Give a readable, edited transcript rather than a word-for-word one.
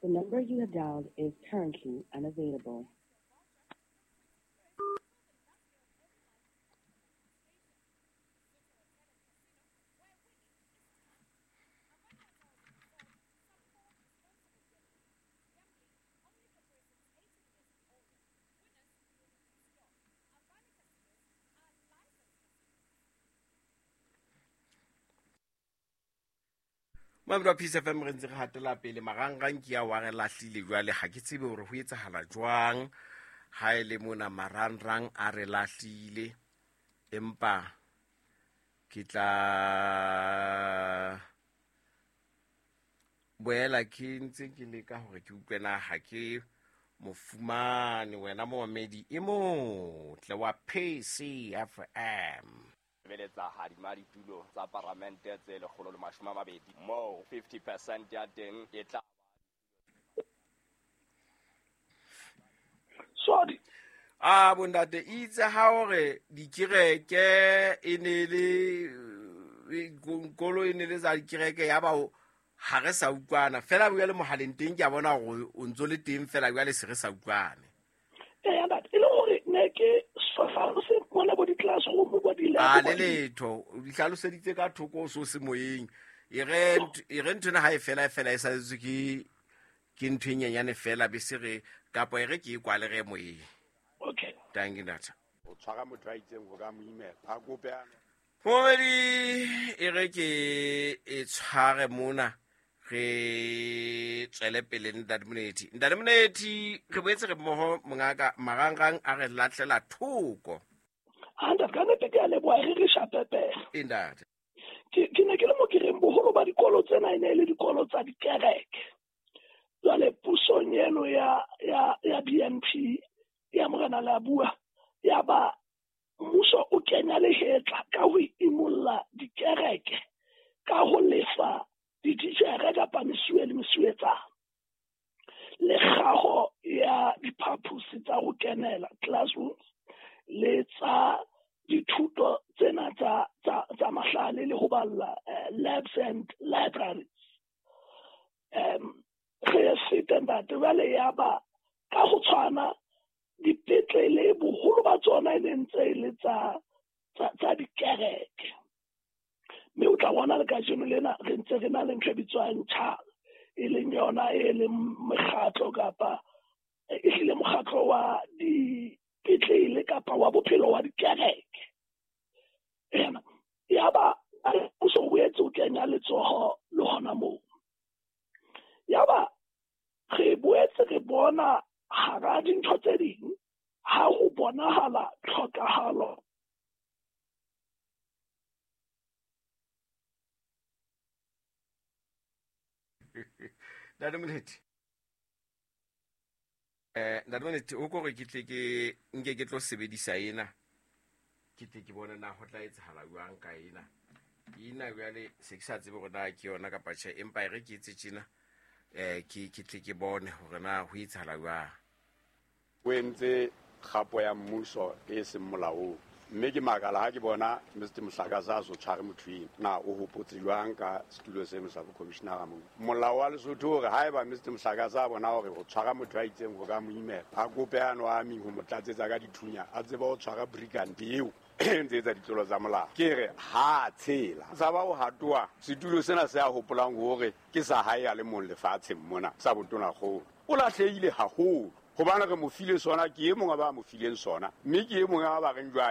The number you have dialed is currently unavailable. Mamedi wa Peace FM, re ntse re hatela pele. Marangrang ke a wa re lahlile jwale, ha ke tsebe hore ho etsahala jwang ha e le mona marangrang a re lahlile, empa ke tla boela ke ntse ke leka hore ke utlwe na ha ke mo fumane wena momamedi e motle wa PCFM. Sebeletsa hadima ditulo tsa paramente tse 120, moo 50% ya teng e tla Sorry. A bondate itse ha hore dikereke e ne le kolo e ne le tsa dikereke, ya ba ha re sa utlwana fela jwale mohaleng teng ke a bona hore o ntso le teng fela jwale se re sa utlwane. Eya ntate, e le hore ne ke se mona bo di-classroom bo di A le letho o di hlaloseditse ka thoko o so se moyeng. E re nthwena ha e fela e fela e saletswe ke ntho e nyenyane fela, be se re kapa e re ke e kwale re moyeng. Okay. Thank you, ntate. O tshwara motho a itseng ho ka mo imela. A kope a Momedi e re ke e tshware mona re tswele pele ntate Monethi. Ntate Monethi, re boetse re mmoho mongaka, marangrang a re lahlela thoko. Ha ntate, ka nnete ke a leboha, re re shapepele. E ntate. Ke ne ke le mo ke reng boholo ba dikolo tsena e ne e le dikolo tsa dikereke. Jwale pusong eno ya BNP ya Morena Leabua, ya ba mmuso o kenya lehetla ka ho imolla dikereke ka ho lefa dititjhere kapa mesuwe le mesuwetsana le kgaho ya diphaposi tsa ho kenela classrooms le tsa dithuto tsena tsa mahlale le ho balla labs and libraries. Re fete ntate, jwale ya ba ka ho tshwana dipetlele boholo ba tsona e ne ntse e le tsa dikereke. Mme o tla bona le kajeno lena re ntse re na le ntho e bitswang CHAL, e leng yona e leng mekgatlo kapa e hlile mokgatlo wa dipetlele kapa wa bophelo wa dikereke. Ena ya ba mmuso o boetse o kenya letsoho le hona moo. Ya ba re boetse re bona hara dintho tse ding ha ho bonahala tlhokahalo. Ntate Molethi. Ntate Molethi, o kore ke tle ke nke ke tlo sebedisa ena. Ke tle ke bone na ho tla etsahala jwang ka ena. Ena jwale se ke sa tsebe hore na ke yona kapa tjhe, empa e re ke etse tjena. Ke tle ke bone hore na ho etsahala jwang. O entse kgapo ya mmuso e seng molaong. Mme ke makala ha ke bona Mr. Mohlakasa a so tshware motho eno. Na o hopotse jwang ka setulo seno sa bokhomishenara moo? Molao wa Lesotho hore haeba Mr. Mohlakasa a bona hore ho tshwara motho a itseng ho ka mo imela, a kope ano a meng ho mo tlatsetsa ka dithunya, a tsebe ho tshwara brigand eo e ntse etsa ditlolo tsa molao. Ke re ha tshela. Tshaba ho hatoa setulo sena se a hopolang hore ke sa hae a le mong lefatsheng mona sa botonakgolo. O lahlehile haholo. Hobane re mo file sona, ke e mong a ba mo fileng sona, mme ke e mong a ba reng jwale.